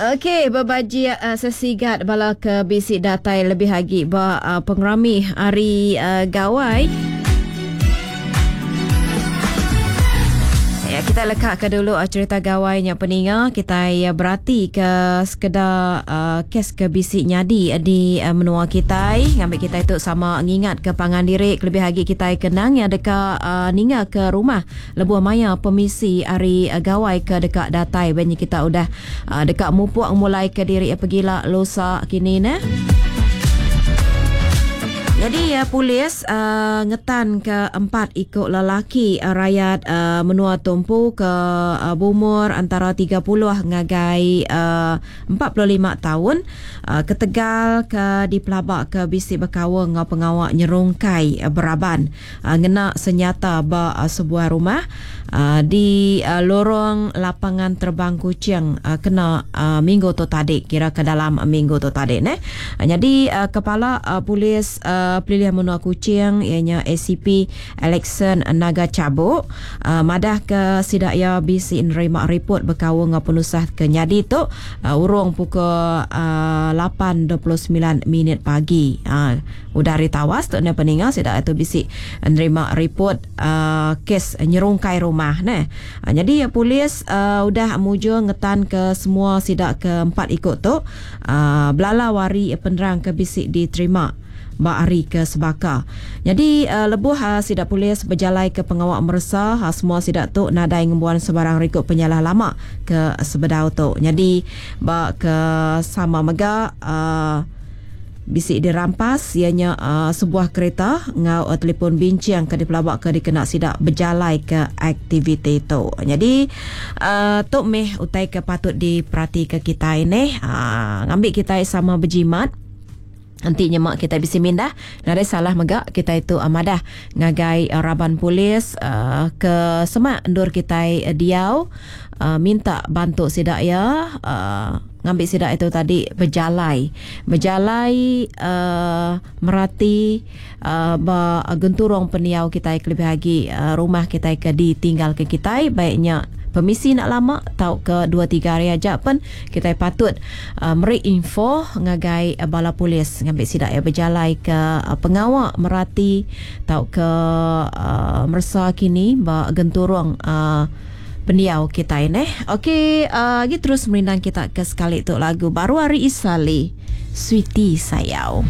Okey, bebajik sesigat bala ke bisi datai lebih agi ba pengerami hari Gawai. Ya, kita leka ke dulu cerita gawai nya peninga kitai berati ke sekeda kes ke bisi nyadi di menua kitai ngambi kitai tu sama ngingat ke pangan diri kelebih agi kitai ke nang ya deka ninga ke rumah Lebuh maya pemisi ari gawai ke deka datai ba nya kita udah deka mupuk ngemulaika diri pegila lusa kini neh. Nyadi polis ngetanka empat iku lelaki rayat menua tu empu ke beumur antara 30 ngagai 45 taun ketegal ke dipelabaka bisi bekaul enggau pengawa nyerungkai beraban. Ngena senyata ba sebuah rumah di lorong Lapangan Terbang Kuching kena minggu tu tadi kira ke dalam minggu tu tadi neh. Nyadi kepala polis pelilih menua Kuching iya nya ACP Alexson Naga Chabuk madah ke sida iya bisi nerima ripot bekaul enggau penusah ke nyadi tu urung pukul 8.29 minit pagi. Udah ari tawas tu enda peninga sida tu bisi nerima ripot uh, kes nyerungkai rumah neh. Uh, nyadi polis uh, udah mujur ngetan ke semua sida ke empat iku tu uh, belalau ari penerang ke bisi diterima ba hari ke sebaka. Nyadi uh, lebuh uh, sida polis bejalai ke pengawa meresa uh, semua sida tu nadai ngembuan sebarang rikod penyalah lama ke sebedau tu. Nyadi ba ke sama mega uh, Bisi dirampas iya nya sebuah kereta enggau telefon binching ke dipelabaka dikena sida bejalaika aktiviti tu. Nyadi tu mih utai ke patut diperatika kitai neh ngambi kitai sama bejimat enti nyema kitai bisi mindah nadai salah mega kitai tu madah ngagai raban polis ke semak endur kitai diau minta bantu sida iya. Ngambi sida itu tadi bejalai. Bejalai uh, merati uh, ba genturung pendiau kitai kelebih agi uh, rumah kitai ke ditinggalka kitai baiknya pemisi nak lama tauka 2 3 hari aja pen kitai patut uh, meri info ngagai uh, bala polis ngambi sida ya bejalai ke uh, pengawa merati tauka uh, meresa kini ba genturung uh, Pendiau kitai neh. Okey, uh, agi terus merindang kita ke sekali tu lagu baru ari Isali, Sweetie Sayau.